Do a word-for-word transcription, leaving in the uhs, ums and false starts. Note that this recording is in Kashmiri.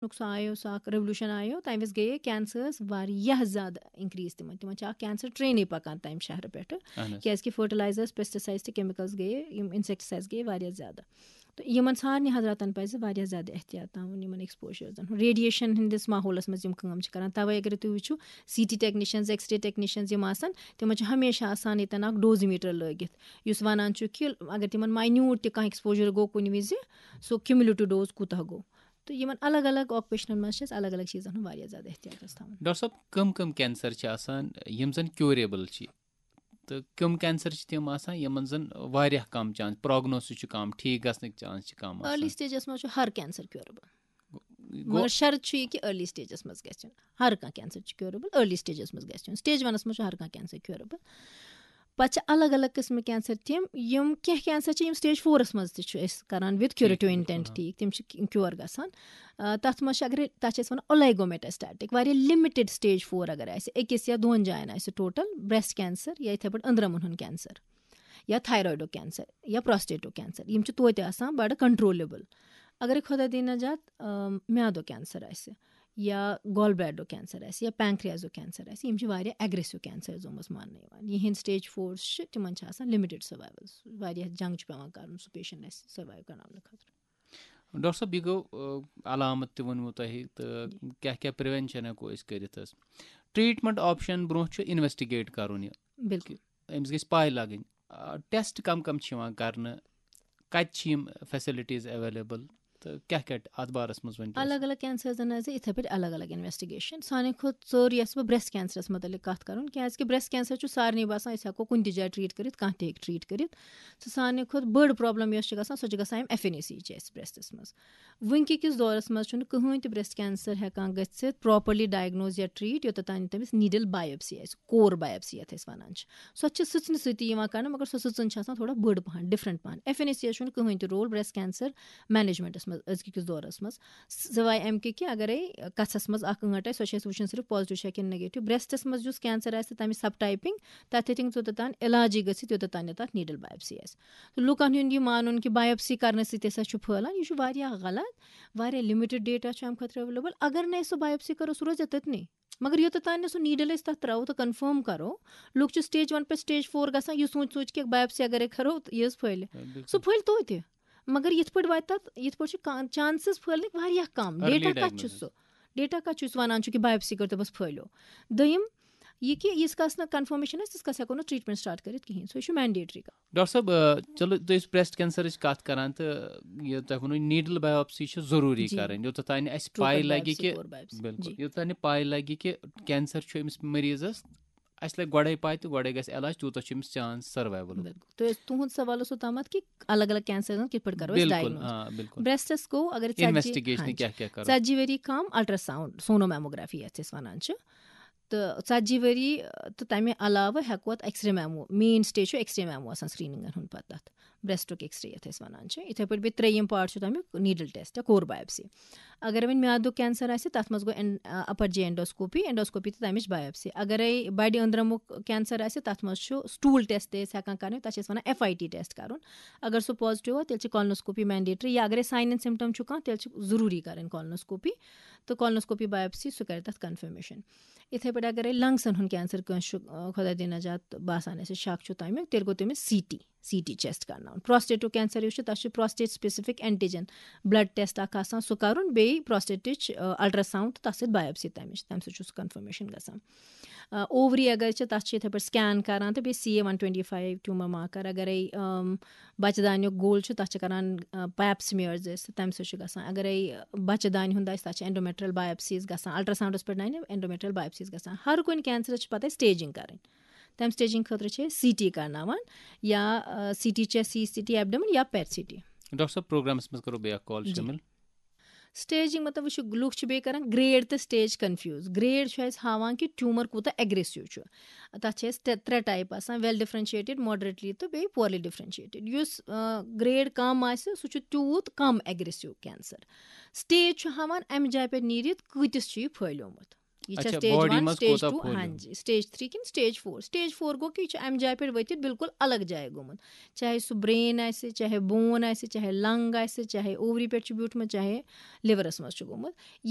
سُہ آیو، سُہ اکھ ریولوشن آیو، تَمہِ وِزِ گٔیے کینسرس واریاہ زیادٕ انکریز۔ تِمن تِمن چھِ اکھ کینسر ٹرینٕے پکان تَمہِ شہرٕ پٮ۪ٹھٕ، اہن حظ۔ کیازِ کہِ فرٹیلایزرس، پیسٹیسائڈس تہٕ کیمیکلز گٔیے، یِم انسیکٹیسائڈس گٔیے واریاہ زیادٕ۔ تہٕ یِمن سارنٕے حضراتن پزِ واریاہ زیادٕ احتیاط تھاوُن یِمن ایکسپوجرزن ہُنٛد، ریڈیشن ہٕنٛدِس ماحولس منٛز یِم کٲم چھِ کران۔ توے اگر تُہۍ وٕچھِو، C T technicians, X ray technicians یِم آسان، تِمن چھُ ہمیشہ آسان ییٚتٮ۪ن اکھ ڈوزیمیٹر لٲگِتھ، یُس ونان چھُ کہِ اگر تِمن ماینیوٹ تہِ کانٛہہ ایکسپوجر گوٚو کُنہِ وِزِ، سُہ کیومولیٹو ڈوز کوٗتاہ گوٚو۔ تہٕ یِمن الگ الگ آکوپیشنن منٛز چھِ اَسہِ الگ الگ چیٖزن ہُنٛد واریاہ زیادٕ احتیاط گژھِ تھاوُن۔ ڈاکٹر صٲب، کٕم کٕم کینسر چھِ آسان یِم زن کیوریبل چھِ، تہٕ کٕم کینسر چھِ تِم آسان یِمن زن واریاہ کم چانس، پروگنوسس چھُ کم، ٹھیٖک گژھنٕکۍ چانس چھِ کم آسان؟ ارلی سٹیجس منٛز چھُ ہر کینسر کیوریبل، گوٚو- مگر شرط چھُ یہِ کہِ ارلی سٹیجس منٛز گژھِ یُن۔ ہر کانٛہہ کینسر چھُ کیوریبل، ارلی سٹیجس منٛز گژھِ یُن۔ سٹیج ونس منٛز چھُ ہر کانٛہہ کینسر کیوریبل۔ پتہٕ چھِ الگ الگ قٕسمٕکۍ کینسر تِم، یِم کینٛہہ کینسر چھِ یِم سٹیج فورس منٛز تہِ چھُ أسۍ کران وِد کیوریٹو ٹھیٖک، انٹینٹ، ہاں۔ ٹھیٖک، تِم چھِ کیور گژھان۔ آ، تتھ منٛز چھِ، اگر تتھ چھِ أسۍ ونان اولیگومیٹاسٹیٹک، واریاہ لِمٹڈ سٹیج فور اگر آسہِ، أکِس یا دۄن جاین آسہِ ٹوٹل، بریسٹ کینسر یا یِتھے پٲٹھۍ أنٛدرمن ہُنٛد کینسر، یا تھایرایڈُک کینسر، یا پروسٹیٹُک کینسر، یِم چھِ توتہِ آسان بڑٕ کنٹرولبل۔ اگرے خۄدا دِیِن نجات، آم، میادُک کینسر آسہِ، یا گال بلیڈرُک کینسر آسہِ، یا پینکریازُک کینسر آسہِ، یِم چھِ واریاہ اگریسو کینسر زومس ماننہٕ یِوان۔ یِہنٛدۍ سٹیج فورس چھِ، تِمن چھِ آسان لِمٹڈ سروائیول، واریاہ جنگ چھُ پٮ۪وان کرُن سُہ پیشنٹ آسہِ سروائیو کرناونہٕ خٲطرٕ۔ ڈاکٹر صٲب، یہِ گوٚو، آ، علامت تہِ ووٚنمُت تۄہہِ، تہٕ کیٛاہ کیٛاہ پریونشن ہٮ۪کو أسۍ کٔرِتھ حظ؟ ٹریٹمنٹ آپشن برونٛہہ چھُ انویسٹیگیٹ کرُن یہِ، بالکل۔ أمِس گژھِ پاے لگٕنۍ۔ آ، ٹیسٹ کم کم چھِ یِوان کرنہٕ، کتہِ چھِ یِم فیسلٹیز اویلیبل، تہٕ کیٛاہ کیٛاہ اتھ بارس منٛز ؤنۍ تو اَسہِ؟ الگ الگ کینسرزن حظ یِتھے پٲٹھۍ الگ الگ انویسٹیگیشن۔ سانہِ کھۄتہٕ ژوٚر یۄس بہٕ بریسٹ کینسرس متعلق کتھ کرُن، کیازِ کہِ بریسٹ کینسر چھُ سارنٕے باسان أسۍ ہٮ۪کو کُنہِ تہِ جایہِ ٹریٹ کٔرِتھ، کانٛہہ تہِ ہیٚکہِ ٹریٹ کٔرِتھ۔ تہٕ سانہِ کھۄتہٕ بٔڑ پرابلم یۄس چھِ گژھان، سۄ چھِ گژھان اَمہِ ایف این اے سی چھِ اَسہِ بریسٹس منٛز۔ وٕنکہِ کِس دورس منٛز چھُنہٕ کٕہٕنۍ تہِ بریسٹ کینسر ہٮ۪کان گٔژھِتھ پراپرلی ڈائگنوز یا ٹریٹ، یوٚتتھ تام تٔمِس نیڈل بایوپسی آسہِ، کور بایوپسی یتھ أسۍ ونان چھِ۔ سۄ چھِ سٕژنہِ سۭتی یِوان کرنہٕ، مگر سۄ سٕژن چھِ آسان تھوڑا بٔڑ پہن، ڈفرنٹ پہن۔ ایف این اے سی یس چھُنہٕ کٕہٕنۍ تہِ رول بریسٹ کینسر مینجمنٹس منٛز أزکہِ کِس دورس منٛز، سوائے امہِ کہِ کہِ اگرے کژھس منٛز اکھ ٲنٹ آسہِ، سۄ چھِ اَسہِ وٕچھُن صرف پازیٹیو چھا کِنہٕ نیگیٹو۔ بریسٹس منٛز یُس کینسر آسہِ، تمِچ سب ٹائپنگ، تتھ ہیٚکہِ نہٕ توٚتتھ تام علاجی گٔژھِتھ، یوٚتتھ تام نہٕ تتھ نیڈل بایوپسی آسہِ۔ تہٕ لُکن ہُنٛد یہِ مانُن کہِ بایوپسی کرنہٕ سۭتۍ ہسا چھُ پھٔہلان، یہِ چھُ واریاہ غلط۔ واریاہ لِمٹڈ ڈیٹا چھُ امہِ خٲطرٕ اویلیبل۔ اگر نہٕ أسۍ سُہ بایوپسی کرو، سُہ روزِ تٔتنٕے۔ مگر یوٚتتھ تام نہٕ سُہ نیڈل أسۍ تتھ تراوو تہٕ کنفرم کرو، لُکھ چھِ سٹیج ون پٮ۪ٹھ سٹیج فور گژھان، یہِ سوٗنچ سوٗنچ کہِ بایوپسی اگرے کرو تہٕ یہِ حظ پھٔہلہِ۔ بِلکُل۔ سُہ پھٔہلہِ توتہِ، مگر یِتھ پٲٹھۍ واتہِ تتھ، یِتھ پٲٹھۍ چھُ چانسز پھٔہلنٕکۍ واریاہ کم۔ Early ڈیٹا کتھ چھُ diagnosis۔ سُہ؟ ڈیٹا کتھ چھُ یُس ونان چھُ کہِ بایوپسی کٔرِو تہٕ بس پھٔہلیو؟ دوٚیِم، یہِ کہِ ییٖتِس کالس نہٕ کنفرمیشن آسہِ، تیٖتِس کالس ہٮ۪کو نہٕ ٹریٹمنٹ سٹارٹ کٔرِتھ کِہینۍ، سُہ چھُ مینڈیٹری۔ ڈاکٹر صٲب، آ، چلو، تُہۍ ٲسِو بریسٹ کینسرٕچ کتھ کران، تہٕ یہِ تۄہہِ ووٚنوٕ نیڈل بایوپسی چھِ ضروٗری جی۔ کرٕنۍ، یوٚتتھ تام نہٕ اَسہِ ٹروپل پاے لگہِ بایوپسی، کہِ، کور بایوپسی۔ بِلکُل، جی۔ یوٚتتھ تام نہٕ پاے لگہِ کہِ کینسر چھُ أمِس مریضس، اَسہِ لگہِ گۄڈے پاے تہٕ گۄڈے گژھِ علاج، تیوٗتاہ چھُ أمِس چانس سروائیولُک۔ بِلکُل۔ تُہۍ ٲسۍ، تُہُنٛد سوال اوسوٕ تامَتھ کہِ الگ الگ کینسرن کِتھ پٲٹھۍ کرو أسۍ بِلکُل، ڈائگنوز؟ آ، بِلکُل۔ بریسٹس گوٚو، اگر ژتجی، انویسٹیگیشن ہاں جی۔ کیٛاہ کیٛاہ کرو؟ ژتجی ؤری کم الٹراساؤنڈ، سونومیموگرافی یتھ أسۍ ونان چھِ، تہٕ ژتجی ؤری، تہٕ تمہِ علاوٕ ہٮ۪کو اتھ X ray mammo, main stage چھُ ایکس رے میمو آسان سکریننگن ہُنٛد پتہٕ تتھ بریسٹُک ایکس رے یتھ أسۍ ونان چھِ۔ یِتھے پٲٹھۍ بیٚیہِ ترٛیٚیِم پارٹ چھُ تمیُک نیڈل ٹیسٹ یا کور بایوپسی۔ اگر وۄنۍ میادُک کینسر آسہِ، تتھ منٛز گوٚو اپر جی اینڈوسکوپی، اینڈوسکوپی تہٕ تمِچ بایوپسی۔ اگرے بڑِ أنٛدرمُک کینسر آسہِ، تتھ منٛز چھُ سٹول ٹیسٹ تہِ أسۍ ہٮ۪کان کرنٲوِتھ، تتھ چھِ أسۍ ونان ایف آئی ٹی ٹیسٹ کرُن۔ اگر سُہ پازیٹیو آو، تیٚلہِ چھِ کولنوسکوپی مینڈیٹری، یا اگرے ساین اینڈ سمپٹم چھُ کانٛہہ، تیٚلہِ چھِ ضروٗری کرٕنۍ کولنوسکوپی، تہٕ کولنوسکوپی بایوپسی، سُہ کرِ تتھ کنفرمیشن۔ یِتھے پٲٹھۍ اگرے لنگسن ہُنٛد کینسر کٲنٛسہِ چھُ، آ، خۄدا دِیِن نجات، باسان اَسہِ شک چھُ تمیُک، تیٚلہِ گوٚو تٔمِس C T, C T chest کرناوُن۔ پروسٹیٹُک کینسر یُس چھُ، تتھ چھُ prostate specific antigen blood test اکھ آسان، سُہ کرُن، بیٚیہِ پروسٹیٹٕچ، آ، الٹراساؤنڈ تہٕ تتھ سۭتۍ بایوپسی تمِچ، تمہِ سۭتۍ چھُ سُہ کنفرمیشن گژھان۔ آ، اووری اگر چھِ، تتھ چھِ یِتھے پٲٹھۍ سکین کران تہٕ بیٚیہِ C A one twenty five tumour marker. اگرے، آم، بچہٕ دانیُک گول چھُ، تتھ چھِ کران، آ، پیپ سمیئرز أسۍ، تمہِ سۭتۍ چھُ گژھان۔ اگرے بچہٕ دانہِ ہُنٛد آسہِ، تتھ چھِ اینڈومیٹریل بایوپسیز گژھان، الٹراساؤنڈس پٮ۪ٹھ نہ، اینڈومیٹریل بایوپسیز گژھان۔ ہر کُنہِ کینسرس چھِ پتہٕ أسۍ سٹیجنگ کرٕنۍ۔ تمہِ سٹیجنگ خٲطرٕ چھِ أسۍ سی ٹی کرناوان، یا، آ، سی ٹی چھِ سی سی ٹی ایبڈمن یا پیٹ سی ٹی۔ ڈاکٹر صٲب، پروگرامس منٛز کرو بیٚیہِ اکھ کال جی۔ شٲمِل۔ سٹیجنگ مطلب، وٕچھِو، لُکھ چھِ بیٚیہِ کران گریڈ تہٕ سٹیج کنفیوز۔ گریڈ چھُ اَسہِ ہاوان کہِ ٹیومر کوٗتاہ اگریسو چھُ۔ تَتھ چھِ اَسہِ ترٛےٚ، ترٛےٚ ٹائپ آسان، ویل ڈفرینشیٹڈ، ماڈریٹلی تہٕ بیٚیہِ پورلی ڈفرینشیٹڈ۔ یُس، آ، گریڈ کم آسہِ، سُہ چھُ تیوٗت کم اگریسو کینسر۔ سٹیج چھُ ہاوان اَمہِ جایہِ پٮ۪ٹھ نیٖرِتھ کۭتِس چھُ یہِ پھٔہلیومُت۔ یہِ چھا اچھا، stage body one, منٛز stage کوٗتاہ two؟ پھوٚل ہاں گوٚمُت؟ جی، stage three کِنہٕ stage four؟ Stage four گوٚو کہِ یہِ چھُ اَمہِ جایہِ پٮ۪ٹھ ؤتھِتھ بالکل الگ جایہِ گوٚمُت، چاہے سُہ brain آسہِ، چاہے bone آسہِ، چاہے ovary پٮ۪ٹھ چھُ بیوٗٹھمُت، چاہے liverس منٛز چھُ گوٚمُت۔